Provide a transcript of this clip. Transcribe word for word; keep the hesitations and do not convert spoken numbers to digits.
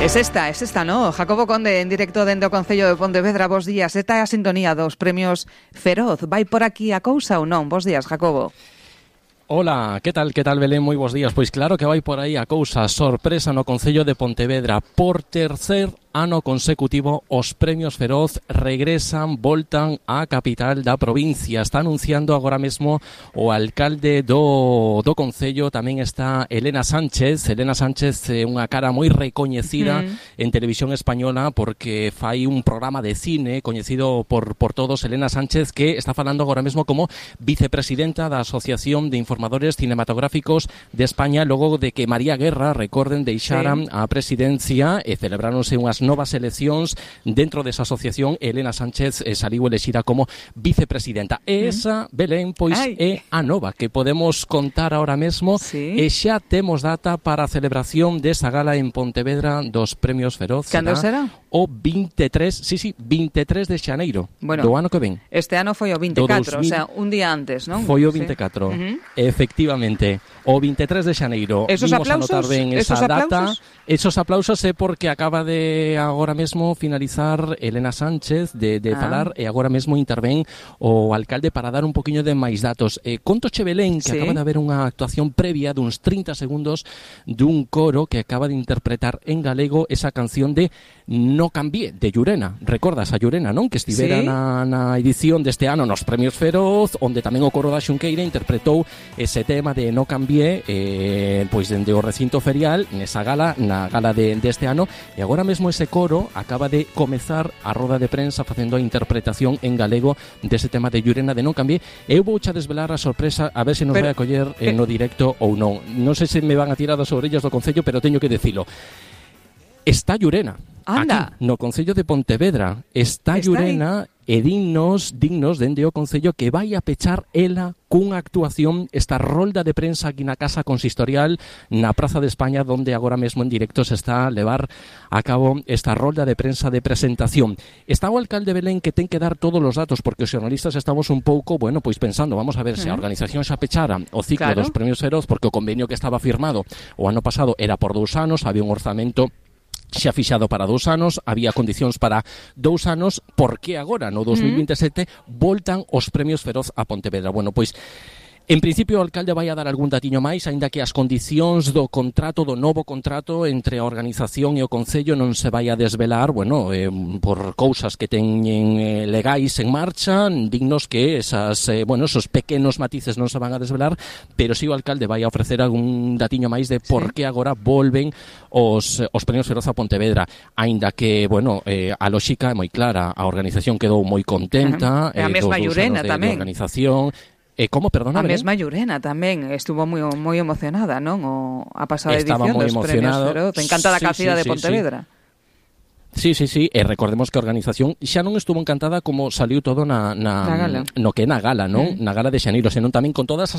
Es esta, es esta, ¿no? Jacobo Conde, en directo dende o Concello de Pontevedra. Bos días. Esta é a sintonía dos premios Feroz. Vai por aquí a cousa ou non? Bos días, Jacobo. Hola, que tal, que tal, Belén? Moi bons días. Pois claro que vai por aí a cousa. Sorpresa no Concello de Pontevedra. Por tercer ano consecutivo, os premios Feroz regresan, voltan á capital da provincia. Está anunciando agora mesmo o alcalde do, do Concello. Tamén está Elena Sánchez. Elena Sánchez é unha cara moi recoñecida mm. en televisión española porque fai un programa de cine coñecido por, por todos. Elena Sánchez, que está falando agora mesmo como vicepresidenta da Asociación de Informadores Cinematográficos de España, logo de que María Guerra, recorden, deixaran sí. a presidencia e celebráronse unhas novas eleccións dentro desa asociación. Elena Sánchez eh, saliu elexida como vicepresidenta. E esa, Belén, pois Ay. é a nova que podemos contar ahora mesmo sí. e xa temos data para a celebración desa gala en Pontevedra dos Premios Feroz. Cando será? O veintitrés, sí, sí, veintitrés de xaneiro bueno, do ano que ven. Este ano foi o veinticuatro, dos mil... o sea, un día antes, non? Foi o veinticuatro, sí. uh-huh. efectivamente. O veintitrés de xaneiro. Esos Vimos aplausos, anotar ben esa esos data. aplausos? Esos aplausos é porque acaba de agora mesmo finalizar Elena Sánchez de, de ah. falar e agora mesmo intervén o alcalde para dar un poquinho de máis datos. Eh, contoche, Belén, que sí. acaba de haber unha actuación previa duns trinta segundos dun coro que acaba de interpretar en galego esa canción de No Cambié, de Llurena. Recordas a Llurena, non? Que estivera ¿Sí? na, na edición deste ano nos Premios Feroz, onde tamén o coro da Xunqueira interpretou ese tema de No Cambié, eh, pois dende o recinto ferial, nesa gala, na gala de, deste ano, e agora mesmo ese coro acaba de comezar a roda de prensa facendo a interpretación en galego dese tema de Llurena de Non Cambié. Eu vou xa desvelar a sorpresa, a ver se nos pero, vai a coller eh, no directo ou non. Non sei se me van a tirar das orellas do Concello, pero teño que dicilo. Está Llurena. Anda. Aquí, no Concello de Pontevedra. Está, está Llurena aí. E dignos, dignos dende o Concello que vai a pechar ela cunha actuación esta rolda de prensa aquí na Casa Consistorial na Praza de España, donde agora mesmo en directo se está a levar a cabo esta rolda de prensa de presentación. Está o alcalde Belén que ten que dar todos os datos porque os xornalistas estamos un pouco, bueno, pois pensando, vamos a ver se a organización xa pechara o ciclo claro. dos Premios Feroz, porque o convenio que estaba firmado o ano pasado era por dous anos, había un orzamento xa fixado para dous anos, había condicións para dous anos, por que agora, no dos mil veintisiete, voltan os Premios Feroz a Pontevedra? Bueno, pois, en principio o alcalde vai a dar algún datiño máis, aínda que as condicións do contrato, do novo contrato entre a organización e o Concello non se vai a desvelar, bueno, eh, por cousas que teñen eh, legais en marcha, dignos que esas, eh, bueno, esos pequenos matices non se van a desvelar, pero si sí o alcalde vai a ofrecer algún datiño máis de por que sí. agora volven os, os Premios Feroz a Pontevedra, aínda que, bueno, eh, a lóxica é moi clara, a organización quedou moi contenta, uh-huh. eh, a mesma Llurena tamén. De organización. E como, perdona, a mesma Llurena tamén estuvo moi moi emocionada, non? O a pasada Estaba edición dos emocionado. Premios Feroz. Encantada sí, ca cidade sí, de Pontevedra. Sí. Sí, sí, sí, e recordemos que a organización xa non estuvo encantada como saliu todo na, na, na gala. no que é na gala, non? Mm. Na gala de xaneiro, senón tamén con todas as